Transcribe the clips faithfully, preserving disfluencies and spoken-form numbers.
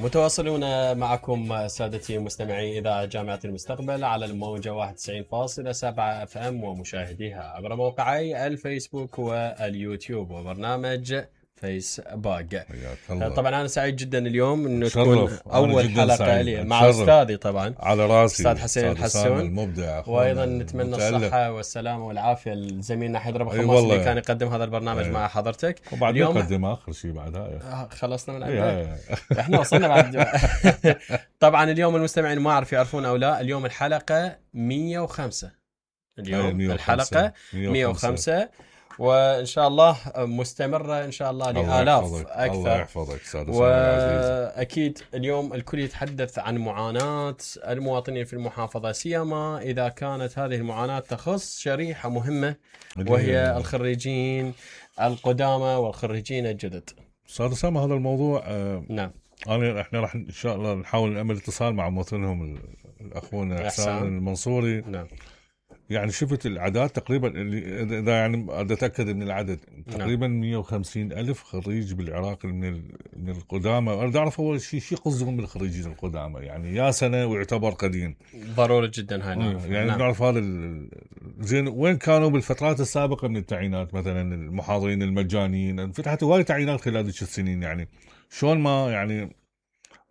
متواصلون معكم سادتي مستمعي إذاعة جامعة المستقبل على الموجة واحد وتسعين فاصلة سبعة اف ام ومشاهديها عبر موقعي الفيسبوك واليوتيوب وبرنامج فيس باق. طبعا انا سعيد جدا اليوم انه تكون اول حلقه لي مع استاذي طبعا على راسي استاذ حسين الحسون المبدع، وايضا نتمنى الصحه والسلامه والعافيه لزميلنا حيدر ابو خماس اللي كان يقدم هذا البرنامج مع حضرتك. وبعد يقدم اخر شيء بعدها خلصنا من عندك احنا وصلنا بعد. طبعا اليوم المستمعين ما اعرف يعرفون او لا، اليوم الحلقه مية وخمسة. اليوم مية وخمسة. الحلقه مية وخمسة وإن شاء الله مستمرة إن شاء الله لآلاف أكثر. الله يحفظك سادة وأكيد اليوم الكل يتحدث عن معاناة المواطنين في المحافظة، سيما إذا كانت هذه المعاناة تخص شريحة مهمة وهي الخريجين القدامى والخريجين الجدد. صار سامة هذا الموضوع. آه نعم. أنا إحنا راح إن شاء الله نحاول نعمل اتصال مع مواطنهم الأخونا إحسان المنصوري. نعم. يعني شفت الأعداد تقريبا اللي إذا يعني أتأكد من العدد تقريبا مية وخمسين ألف خريج بالعراق من من القدامى. أنا أعرف أول شيء شيء قصدهم بالخريجين القدامى، يعني يا سنة ويعتبر قديم. ضروري جدا هاي نعرف. يعني نعم. نعرف هذا زين وين كانوا بالفترات السابقة من التعيينات، مثلا المحاضرين المجانيين فتحت هواي تعيينات خلال هذه السنين، يعني شلون ما يعني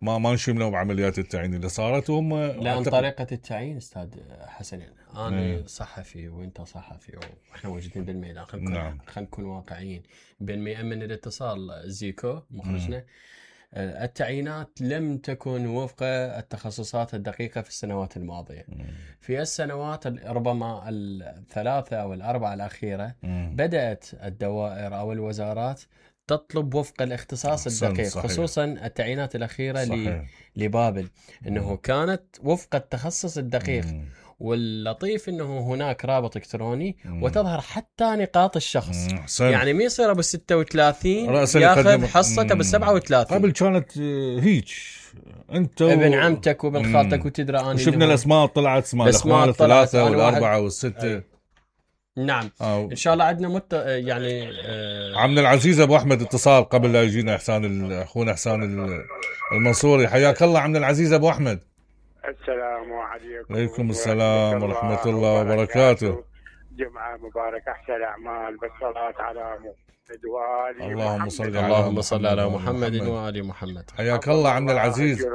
ما ما نشملوا بعمليات التعيين اللي صارت وهم لأن أعتقد... طريقة التعيين أستاذ حسن يعني أنا مم. صحفي وأنت صحفي وإحنا موجودين بالميدان، خلينا نكون نعم. خلينا نكون واقعيين. بين ما يأمن الاتصال زيكو مخرجنا مم. التعيينات لم تكن وفق التخصصات الدقيقة في السنوات الماضية. مم. في السنوات ربما الثلاثة أو الأربعة الأخيرة مم. بدأت الدوائر أو الوزارات تطلب وفق الاختصاص الدقيق، صحيح. خصوصا التعيينات الأخيرة صحيح. لبابل إنه مم. كانت وفق التخصص الدقيق. مم. واللطيف إنه هناك رابط إلكتروني مم. وتظهر حتى نقاط الشخص. مم. يعني ما يصير أبو ستة وثلاثين ياخذ حصته أبو سبعة وثلاثين. قبل كانت هيك أنت ابن عمتك وابن خالتك وتدرى أنا شفنا الأسماء طلعت اسماء الأخوان الثلاثة والأربعة والستة. أي. نعم أو. إن شاء الله عندنا مت يعني آه عمنا العزيز أبو أحمد اتصال قبل لا يجينا إحسان أخونا إحسان المنصوري. حياك الله عمنا العزيز أبو أحمد. السلام عليكم. عليكم السلام ورحمة الله وبركاته. جمعة مباركة، أحسن أعمال بالصلاة على محمد وآل اللهم صل على اللهم صل على محمد وآل محمد. حياك الله عمنا العزيز.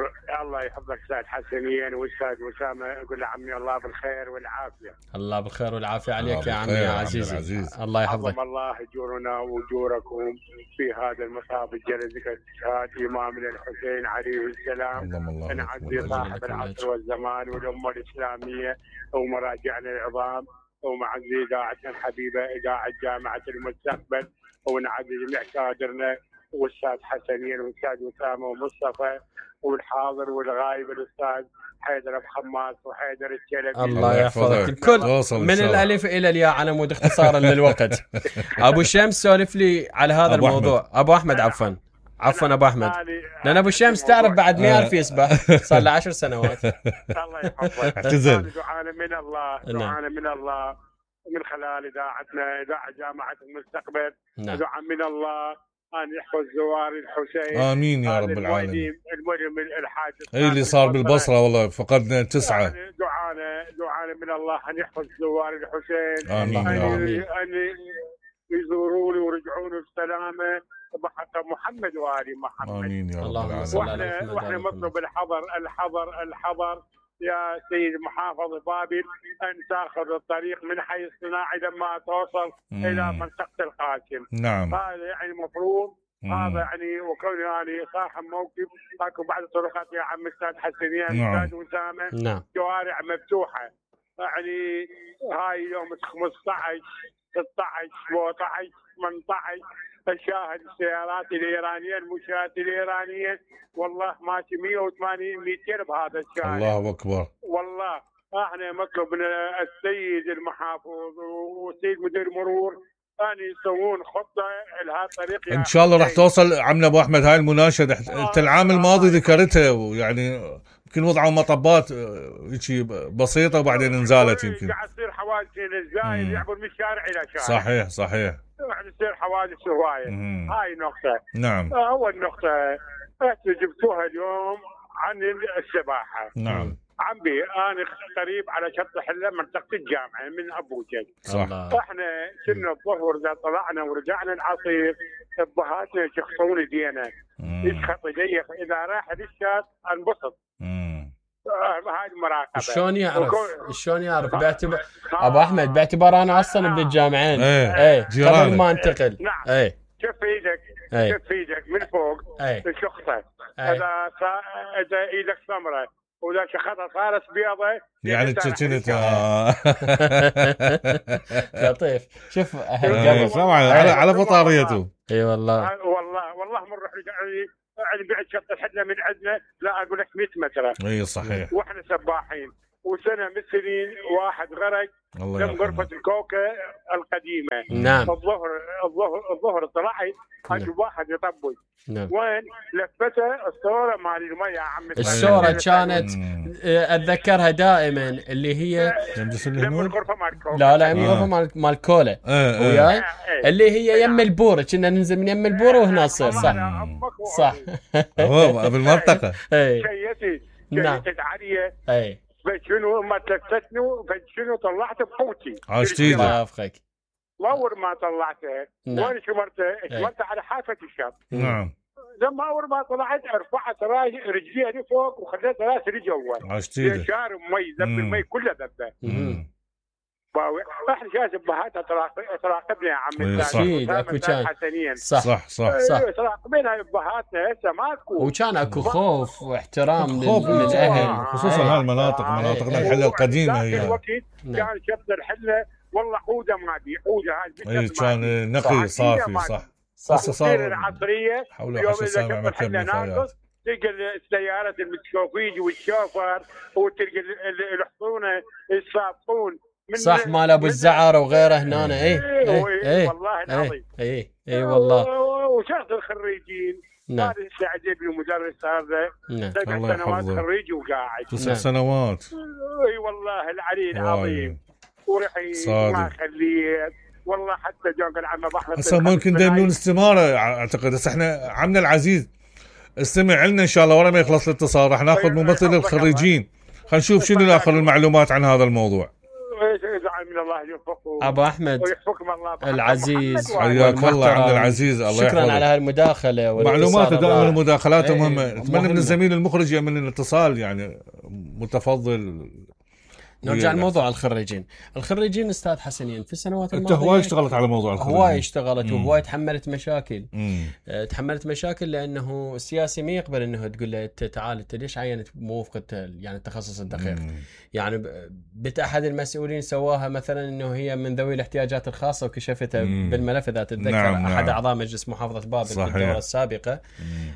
الله يحفظك أستاذ حسنين وأستاذ وسامة، يقول عمي الله بالخير والعافية. الله بالخير والعافية عليك يا عمي يا عزيزي. عزيز. الله يحفظك. الله يجورنا وجوركم في هذا المصاب الجلد كاستشهاد إمامنا الحسين عليه السلام. نعزي صاحب العصر والزمان والأمة الإسلامية ومراجعنا العظام، ومعزي إذاعتنا الحبيبة إذاعة جامعة المستقبل، ونعزي جميع كادرنا والأستاذ حسنين والأستاذ وسامة ومصطفى والحاضر والغايب الأستاذ حيدر أبو خماس وحيدر الشلبي. الله يحفظك الكل من الألف إلى الياء على مود اختصارا للوقت. أبو شمس سولف لي على هذا أبو الموضوع. أحمد. أبو أحمد عفوا عفوا أبو أحمد، لأن أبو شمس تعرف بعد ما يعرف يسبح صار له عشر سنوات. الله يحفظك. اعتزل. دعانا من الله، دعانا من الله من خلال إذاعتنا إذاعة جامعة المستقبل. دعاء من الله أن يحفظ زوار الحسين. آمين يا رب العالمين. المهم الحاج أي اللي صار بالبصرة والله فقدنا تسعة. يعني دعانا دعانا من الله أن يحفظ زوار الحسين. آمين أن, يا رب. أن يزورون ويرجعون بسلامة بحق محمد وآل محمد. آمين يا رب العالمين. وإحنا وإحنا مطلب الحضر الحضر الحضر يا سيد محافظ بابل أن تأخذ الطريق من حي الصناعي لما توصل مم. إلى منطقة القاسم. نعم. هذا يعني مفروض. هذا يعني وكوني يعني صاحب موقف اكو بعض الطرقات يا عم استاذ حسنين نعم. استاذ وسامه نعم. شوارع مفتوحه، يعني هاي يوم خمسطعش ستطعش سبعطعش ثمنطعش تشاهد السيارات الإيرانية المشاة الإيرانية والله ماشي مية وثمانين متر بهذا الشارع. الله أكبر. والله احنا مطلوب من السيد المحافظ والسيد مدير مرور أن يسوون خطة لهذا الطريق. إن شاء الله راح توصل عمنا أبو أحمد هاي المناشدة. أنت العام الماضي ذكرتها ويعني يمكن وضعوا مطبات هيك بسيطة وبعدين انزالت يمكن. قاعد تصير حوادث الزايد يعبر من شارع إلى شارع. صحيح صحيح. قاعد تصير حوادث هواية. هاي نقطة. نعم. أول نقطة جبتوها اليوم عن السباحه. نعم. عمي انا قريب على شط حله منطقه الجامعه من ابوجد. صح. احنا كنا الظهر اذا طلعنا ورجعنا العصير ابهاتنا يشخصون ايدينا يشخط يدي اذا راح للشاط انبسط. هاي المراقبه. شلون يعرف؟ شلون يعرف؟ باعتبار ابو احمد باعتبار انا اصلا ابن الجامعين. ايه, ايه. قبل ما انتقل. نعم. ايه. شوف ايدك. ايه. شوف ايدك من فوق. ايه. شخصه. ايه. اذا صا... اذا ايدك سمراء واذا شخصها صارت بيضة يعني كنت لطيف. شوف طبعا على على فطاريته. اي والله والله والله من نروح يعني بعد شط الحدة من عندنا لا اقول لك مئة متر. اي صحيح. واحنا سباحين وسنه من سنين واحد غرق من غرفه الكوكه القديمه. نعم. الظهر الظهر الظهر طلعت اشوف واحد يطبل. نعم. وين لفته الصوره مال الميه يا عمي. الصوره كانت اتذكرها دائما اللي هي يم الغرفه مال الكوكه. لا لا يم الغرفه مال مال كولا وياي اللي هي يم البوره. كنا ننزل من يم البوره وهنا نصير. صح صح. هو بالمنطقه. شيتي نعم. شيتي عاليه. اي فشنو ما تلفتني فشنو طلعت بقوتي. عاشتي الله يوفقك. واول ما طلعته وين شمرته؟ شمرته على حافه الشط. نعم. لما اول ما طلعت رفعت رجليها لفوق وخليت راسي لجوا. عاشتي شارب مي ذب المي كله ذبه. احنا شايف ابهاتها تراقبنا يا عمي. اكيد اكو كان صح صح صح, صح. تراقبنا ابهاتنا هسه ماكو. وكان اكو خوف واحترام للاهل خصوصا هالمناطق مناطقنا الحله القديمه هي. الوقت كان شط الحله والله حوده ما بي حوده هاي. اي كان نقي صافي. صح صح. صار العصريه حول عشر سامع مكب نفايات. تلقى السيارات المتشوفيج والشوفر وتلقى الحصونه الصابون صح مال ابو الزعر وغيره هنا. اي اي والله العظيم. اي اي والله. وشخص الخريجين هذا السعدي المدرس هذا سبع سنوات خريج وقاعد. تسع سنوات. اي والله العلي العظيم. ورحي ما خليت والله حتى جوق العم ابو احمد. هسه ممكن دينون استماره اعتقد. هسه احنا عمنا العزيز استمع لنا ان شاء الله ورا ما يخلص الاتصال راح ناخذ ممثل الخريجين. خلينا نشوف شنو اخر المعلومات عن هذا الموضوع. من الله يوفقه ابو احمد ويحفظكم الله العزيز. حياك الله عبد العزيز. الله شكرا يحفظك. على هالمداخله معلومات دائما المداخلات مهمه. اتمنى من الزميل المخرج يعمل لنا اتصال يعني متفضل. نرجع لموضوع الخريجين. الخريجين استاذ حسنين في السنوات الماضيه انت هواي اشتغلت على موضوع الخريجين. هواي اشتغلت وهواي تحملت مشاكل. مم. تحملت مشاكل لانه السياسي ما يقبل انه تقول له تعال انت ليش عينت مو وفق يعني التخصص الدقيق. مم. يعني بت احد المسؤولين سواها مثلا انه هي من ذوي الاحتياجات الخاصه وكشفتها مم. بالملف اذا تتذكر. نعم احد نعم. اعضاء مجلس محافظه بابل في الدوره السابقه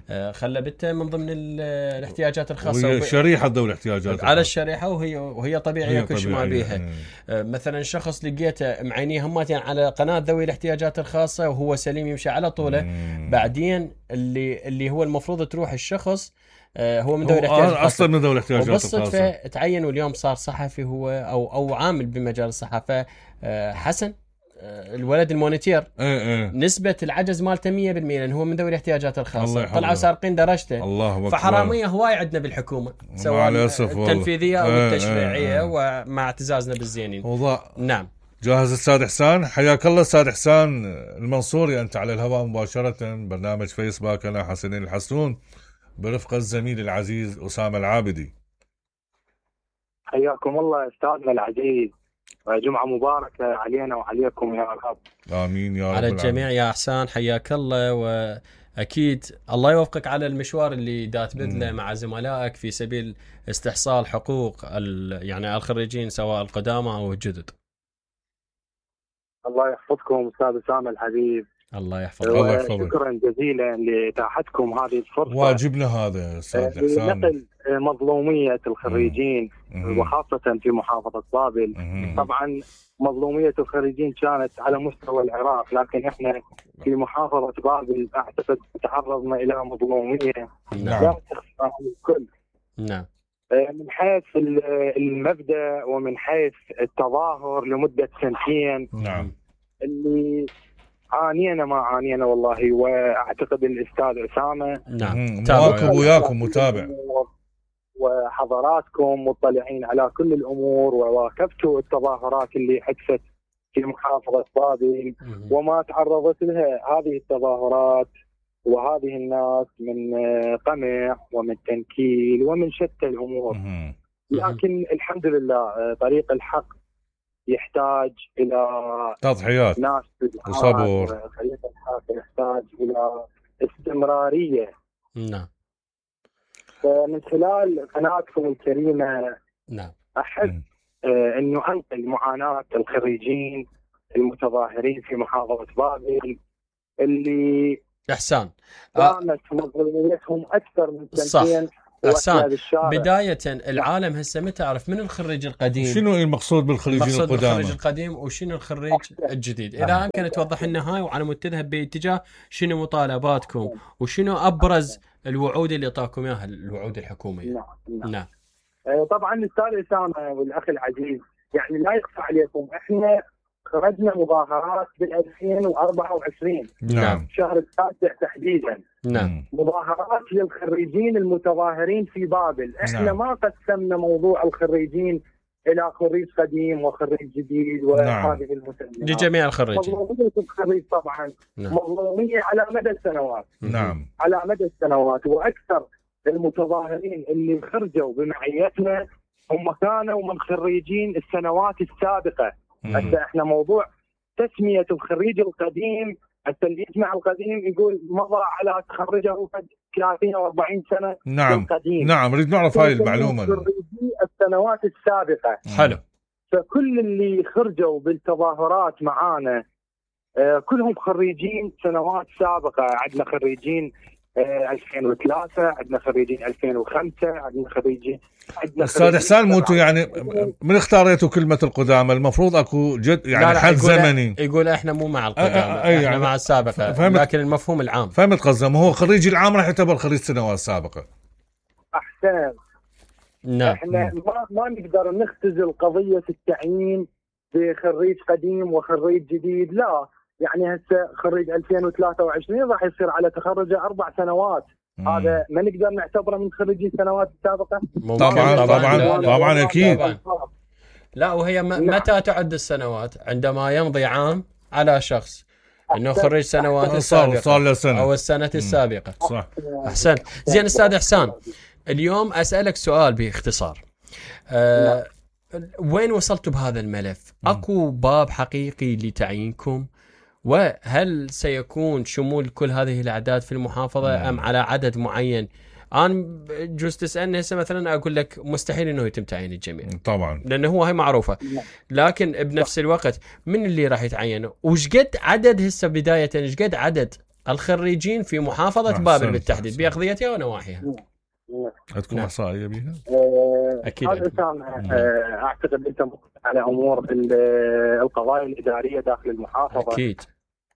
آه خلى بنته من ضمن الاحتياجات الخاصه. وهي شريحه ذوي الاحتياجات على الشريحه وهي وهي طبيعيه كل شيء ما بيها. آه مثلا شخص لقيته معينيه همتين على قناه ذوي الاحتياجات الخاصه وهو سليم يمشي على طوله. مم. بعدين اللي اللي هو المفروض تروح الشخص آه هو من ذوي الاحتياجات الخاصه اصلا من ذوي الاحتياجات الخاصه. وبالصدفه تعين واليوم صار صحفي هو او او عامل بمجال الصحافه. آه حسن آه الولد المونيتير. ايه ايه. نسبه العجز مالته مية بالمية لان هو من ذوي الاحتياجات الخاصه. طلعوا سارقين درجته. الله فحراميه هواي عندنا بالحكومه سواء التنفيذيه او ايه التشريعيه. ايه ومع اعتزازنا بالزينين. وضع. نعم. جاهز استاذ حسان؟ حياك الله استاذ حسان المنصوري. انت على الهواء مباشره برنامج فيسباك انا حسنين الحسون برفقه الزميل العزيز اسامه العابدي. حياكم الله استاذنا العزيز. جمعه مباركه علينا وعليكم يا رب. امين يا رب. على الجميع يا احسان حياك الله. واكيد الله يوفقك على المشوار اللي دات بذله مع زملائك في سبيل استحصال حقوق يعني الخريجين سواء القدامى او الجدد. الله يحفظكم استاذ اسامه الحبيب. الله يحفظك. الله يحفظك. شكرا جزيلا لاتاحتكم هذه الفرصه. واجبنا هذا استاذ حسان. لنقل مظلوميه الخريجين مم. وخاصه في محافظه بابل. مم. طبعا مظلوميه الخريجين كانت على مستوى العراق لكن احنا في محافظه بابل اعتقد تعرضنا الى مظلوميه نعم. لا تخفى على الكل. نعم. من حيث المبدأ ومن حيث التظاهر لمدة سنتين. نعم. اللي عانينا ما عانينا والله. واعتقد الاستاذ اسامه نعم مواكب وياكم متابع، وحضراتكم مطلعين على كل الامور، وواكبتوا التظاهرات اللي حدثت في محافظه بابل وما تعرضت لها هذه التظاهرات وهذه الناس من قمع ومن تنكيل ومن شتى الامور. لكن الحمد لله طريق الحق يحتاج الى تضحيات ناس وصبر. طريق الحق يحتاج الى استمراريه. نعم. فمن خلال قناتكم الكريمه نعم احب آه انه انقل معاناه الخريجين المتظاهرين في محافظه بابل اللي احسان كانت مظلوميتهم اكثر من سنتين. احسان، بداية العالم هسه متى تعرف من الخريج القديم؟ شنو المقصود بالخريجين القدامى؟ الخريج القديم وشنو الخريج الجديد؟ اذا امكن توضح لنا هاي وعلى مود تذهب باتجاه شنو مطالباتكم وشنو ابرز الوعود اللي اعطاكم اياها الوعود الحكوميه. نعم نعم, نعم. طبعا الاستاذ اسامه والاخ العزيز، يعني لا يخفى عليكم احنا خرجنا مظاهرات بال ألفين وأربعة وعشرين نعم شهر التاسع تحديدا. نعم. مظاهرات للخريجين المتظاهرين في بابل. احنا نعم. ما قسمنا موضوع الخريجين الى خريج قديم وخريج جديد وهذه المسميات. لجميع الخريجين. مظلومية الخريج طبعا نعم. مظلومية على مدى السنوات. نعم. على مدى السنوات، واكثر المتظاهرين اللي خرجوا بمعيتنا هم كانوا من خريجين السنوات السابقة. هسه احنا موضوع تسمية الخريج القديم، هسه اللي يسمع القديم يقول مضى على تخرجه ثلاثين أو أربعين سنة. نعم القديم. نعم نريد نعرف هاي المعلومة. خريجي السنوات السابقة. حلو. فكل اللي خرجوا بالتظاهرات معانا آه كلهم خريجين سنوات سابقة. عندنا خريجين آه ألفين وثلاثة، عندنا خريجين ألفين وخمسة، عندنا خريجين عندنا استاذ احسان موتو يعني من اختاريتوا كلمة القدامى المفروض اكو جد يعني لا لا حد يقول زمني. يقول احنا مو مع القدامى، احنا يعني مع السابقة، فهمت. لكن المفهوم العام. فهمت قصدي، هو خريج العام راح يعتبر خريج سنوات سابقة. احسن. نعم. احنا ما ما نقدر نختزل قضية التعيين بخريج قديم وخريج جديد، لا. يعني هسه خريج ألفين وثلاثة وعشرين راح يصير على تخرجه اربع سنوات. مم. هذا ما نقدر نعتبره من خريجي السنوات السابقة. طبعا طبعا طبعا, لا لا طبعا لا اكيد. طبعا. لا وهي م... متى تعد السنوات؟ عندما يمضي عام على شخص انه خريج سنوات السابقة صار له سنة او السنة السابقة. صح. احسن. زين استاذ احسان، اليوم اسالك سؤال باختصار. أه وين وصلتوا بهذا الملف؟ اكو باب حقيقي لتعيينكم؟ وهل سيكون شمول كل هذه الأعداد في المحافظة أم على عدد معين؟ أنا جوز تسألني هسه مثلا أقول لك مستحيل إنه يتم تعيين الجميع طبعا، لأنه هو هاي معروفة. لكن بنفس الوقت من اللي راح يتعين؟ وش قد عدد هسه بداية وش قد عدد الخريجين في محافظة بابل بالتحديد بأقضيتها ونواحيها؟ عندكم احصائيه بيها؟ اكيد. اعتقد انت على امور القضايا الاداريه داخل المحافظه. اكيد.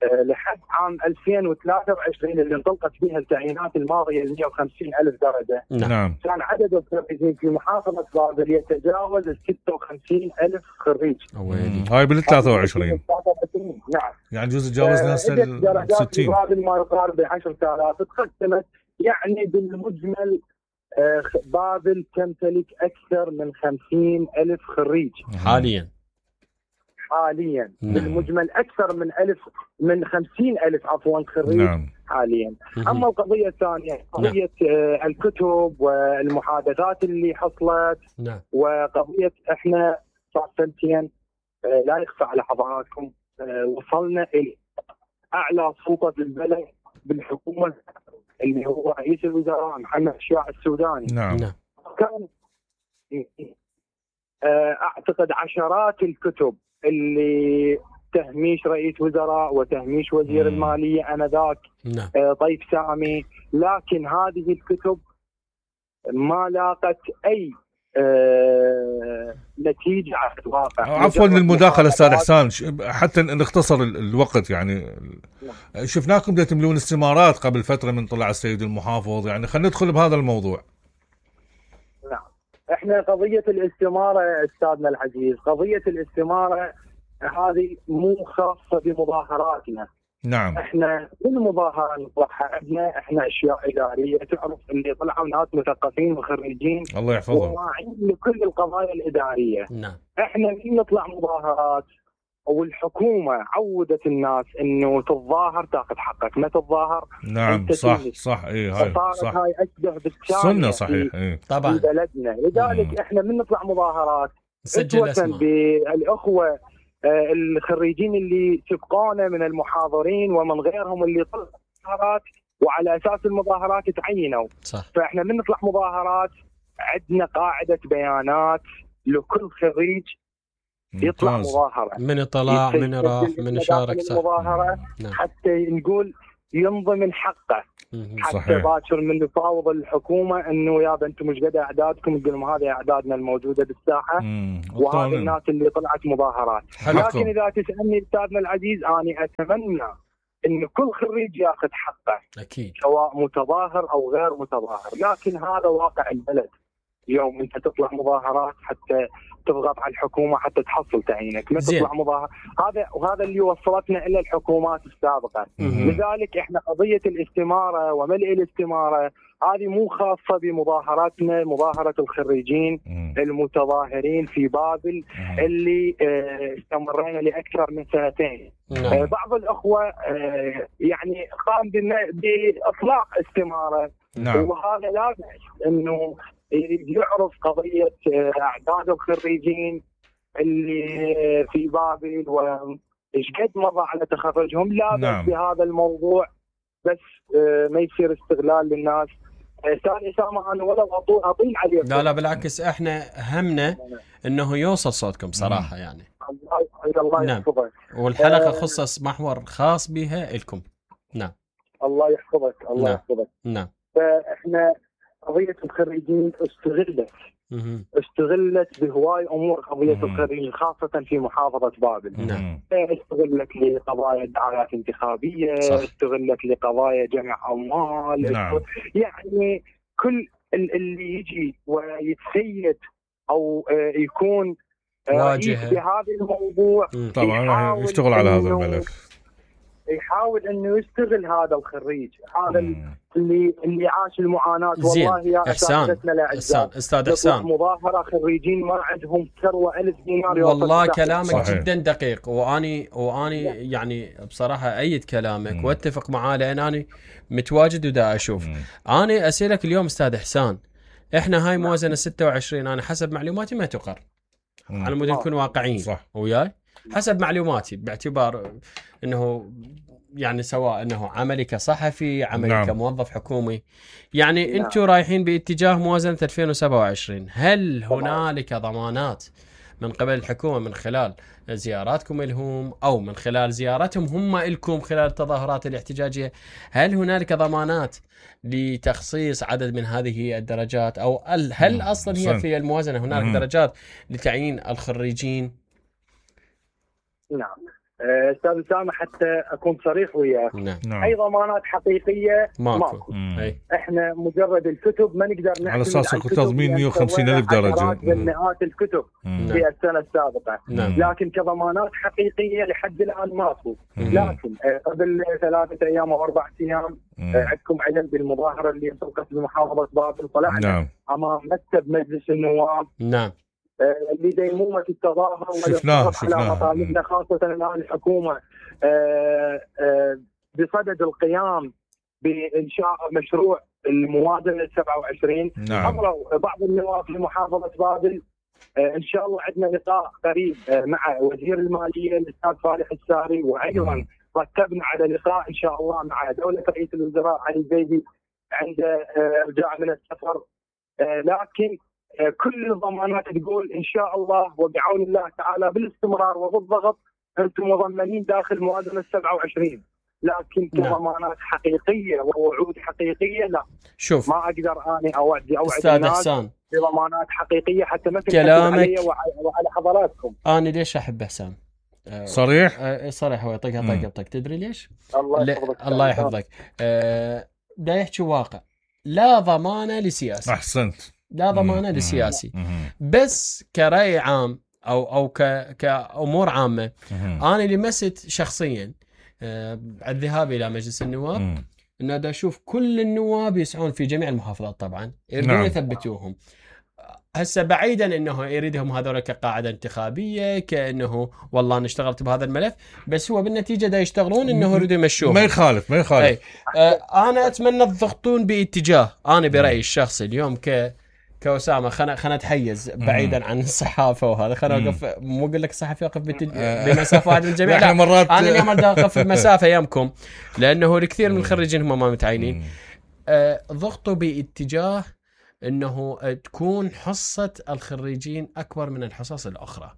لحد عام ألفين وثلاثة وعشرين اللي انطلقت فيها التعيينات الماضيه مئة وخمسين ألف درجه. نعم. كان عدد الخريجين في محافظه بابل يتجاوز ال ستة وخمسين ألف خريج. هاي بال ثلاثة وعشرين. نعم. يعني جزء تجاوزنا هسه ال ستين. بابل ما يقارب ب عشرة آلاف تقدمت. يعني بالمجمل بابل تمتلك أكثر من خمسين ألف خريج حاليا. حاليا نعم. بالمجمل أكثر من ألف من خمسين ألف عفوا خريج نعم. حاليا. أما القضية الثانية قضية نعم. الكتب والمحادثات اللي حصلت نعم. وقضية إحنا صار سنتين لا يخفى على حضراتكم وصلنا إلى أعلى سلطة بالبلد بالحكومة اللي هو رئيس الوزراء محمد الشياع السوداني. نعم. كان اعتقد عشرات الكتب اللي تهميش رئيس وزراء وتهميش وزير مم. المالية انذاك نعم. طيب سامي، لكن هذه الكتب ما لاقت اي آه نتيجة على الواقع. عفوا للمداخلة استاذ احسان، حتى نختصر الوقت يعني نعم. شفناكم دا تملون استمارات قبل فترة من طلع السيد المحافظ، يعني خلينا ندخل بهذا الموضوع. نعم. احنا قضية الاستمارة استاذنا العزيز، قضية الاستمارة هذه مو خاصة بمظاهراتنا. نعم. احنا بالمظاهره نطلعها عندنا احنا اشياء اداريه، تعرف اللي طلعوا ناس مثقفين وخريجين الله يحفظهم وواعيين لكل القضايا الاداريه. نعم. احنا من نطلع مظاهرات والحكومه عودت الناس انه تتظاهر تاخذ حقك، ما تتظاهر نعم صح صح اي هاي صح هاي اشبه بالشارع سنه صحيح اي طبعا في بلدنا. لذلك مم. احنا من نطلع مظاهرات سجل اسماء بالاخوه آه الخريجين اللي سبقونا من المحاضرين ومن غيرهم اللي طلعوا مظاهرات وعلى اساس المظاهرات تعينوا. صح. فاحنا من نطلع مظاهرات عندنا قاعده بيانات لكل خريج يطلع مظاهرة، من طلع من راح من شارك صح. المظاهرة نعم. حتى نقول ينضمن حقه. حتى باكر من يفاوض الحكومة انه يا انتم مش قد اعدادكم، تقول لهم هذه اعدادنا الموجودة بالساحة وهذه الناس اللي طلعت مظاهرات. حلقكم. لكن اذا تسألني استاذنا العزيز انا اتمنى ان كل خريج ياخذ حقه اكيد سواء متظاهر او غير متظاهر، لكن هذا واقع البلد. يوم انت تطلع مظاهرات حتى تضغط على الحكومه حتى تحصل تعيينك، ما تطلع مظاهر. هذا وهذا اللي وصلتنا الى الحكومات السابقه. مم. لذلك احنا قضيه الاستماره وملء الاستماره هذه مو خاصه بمظاهراتنا، مظاهره الخريجين مم. المتظاهرين في بابل مم. اللي اه استمرينا لاكثر من سنتين. اه بعض الاخوه اه يعني قام باطلاق استماره. نعم. وهذا لا بأس انه يعرف قضية أعداد الخريجين اللي في بابل وإيش قد مضى على تخرجهم، لا بس نعم. بهذا الموضوع بس ما يصير استغلال للناس. ثاني سامع أنا ولا أطيل عليكم. لا لا بالعكس احنا همنا انه يوصل صوتكم صراحة يعني. الله نعم. يحفظك. والحلقة خصص محور خاص بها لكم. نعم. الله يحفظك الله نعم. يحفظك. نعم. فإحنا قضية الخريجين استغلت مم. استغلت بهواي امور قضيه الخريجين خاصه في محافظه بابل. نعم. استغلت لقضايا دعايات انتخابيه، صح. استغلت لقضايا جمع اموال. نعم. يعني كل اللي يجي ويتسيد او يكون واجهه بهذا الموضوع طبعا راح يشتغل على هذا الملف، يحاول انه يستغل هذا الخريج هذا مم. اللي اللي عاش المعاناه. والله يا اساتذتنا الاعزاء استاذ احسان مظاهره خريجين ما عندهم ثروه ألف دينار. والله كلامك صحيح. جدا دقيق واني واني يعني بصراحه ايد كلامك مم. واتفق معاه لان اني متواجد ودا اشوف. مم. انا اسالك اليوم استاذ احسان، احنا هاي موازنه ستة وعشرين انا حسب معلوماتي ما تقر. مم. على مود نكون واقعيين صح. وياي حسب معلوماتي باعتبار انه يعني سواء انه عملي كصحفي عملي نعم. كموظف حكومي يعني نعم. انتم رايحين باتجاه موازنه ألفين وسبعة وعشرين. هل هنالك ضمانات من قبل الحكومه من خلال زياراتكم لهم او من خلال زيارتهم هم لكم خلال التظاهرات الاحتجاجيه، هل هنالك ضمانات لتخصيص عدد من هذه الدرجات او هل اصلا هي في الموازنه هنالك مم. درجات لتعيين الخريجين؟ نعم استاذ اسامه حتى اكون صريح وياك، نعم. اي ضمانات حقيقيه ماكو, ماكو. احنا مجرد الكتب ما نقدر نعتمد على اساس تضمين مئة وخمسين ألف درجه مئات الكتب مم. في السنه السابقه. مم. لكن كضمانات حقيقيه لحد الان ماكو. لكن قبل ثلاثه ايام او اربع ايام عندكم علم بالمظاهره اللي سوقت بمحافظه بابل، طلعنا نعم. امام مكتب مجلس النواب نعم اللي ديمومة التظاهر شفناه على مطالبنا خاصة الآن الحكومة بصدد القيام بإنشاء مشروع الموازنة سبعة وعشرين. نعم. حضروا بعض النواب في محافظة بابل. إن شاء الله عندنا لقاء قريب مع وزير المالية الأستاذ فالح الساري، وأيضا رتبنا على لقاء إن شاء الله مع دولة رئيس الوزراء علي الزيدي عند رجاع من السفر. لكن كل الضمانات تقول إن شاء الله وبعون الله تعالى بالاستمرار وبالضغط أنتم مضمنين داخل موازنة سبعة وعشرين. لكن كضمانات حقيقية ووعود حقيقية لا. شوف ما أقدر أنا أوعد أوعد أستاذ إحسان بضمانات حقيقية حتى ما كلامك وعلى حضراتكم. أنا ليش أحب إحسان صريح أه صريح هو يطقها طقه بطق. تدري ليش؟ الله يحفظك الله يحفظك. أه دا يحكي واقع، لا ضمانة لسياسي. أحسنت. لا ضمانة للسياسي، بس كرأي عام أو أو ك كأمور عامة. أنا لمست شخصيا الذهاب الى مجلس النواب انه دا اشوف كل النواب يسعون في جميع المحافظات طبعا يريدون نعم. يثبتوهم. هسه بعيدا انه يريدهم هذول كقاعده انتخابيه كانه والله انا اشتغلت بهذا الملف، بس هو بالنتيجه دا يشتغلون انه يريدوا يمشوهم. ما يخالف ما يخالف. آه انا اتمنى تضغطون باتجاه، انا برايي الشخصي اليوم ك كأسامة خنا خنا اتحيز بعيدا عن الصحافه وهذا، خنا اوقف مو اقول لك الصحفي يقف بمسافه واحده من الجميع، لا مرات انا اليوم اقف بمسافه يمكم، لانه الكثير من الخريجين هم ما متعينين. آه ضغطوا باتجاه انه تكون حصه الخريجين اكبر من الحصص الاخرى،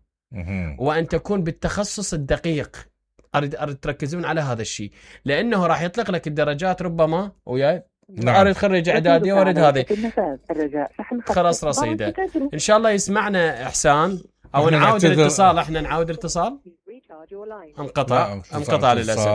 وان تكون بالتخصص الدقيق. اريد اريد تركزون على هذا الشيء، لانه راح يطلق لك الدرجات ربما وياي نعم. اريد خريج اعدادي واريد هذه خلاص رصيده. ان شاء الله يسمعنا احسان او نعاود الاتصال. احنا نعاود الاتصال انقطع انقطع للاسف.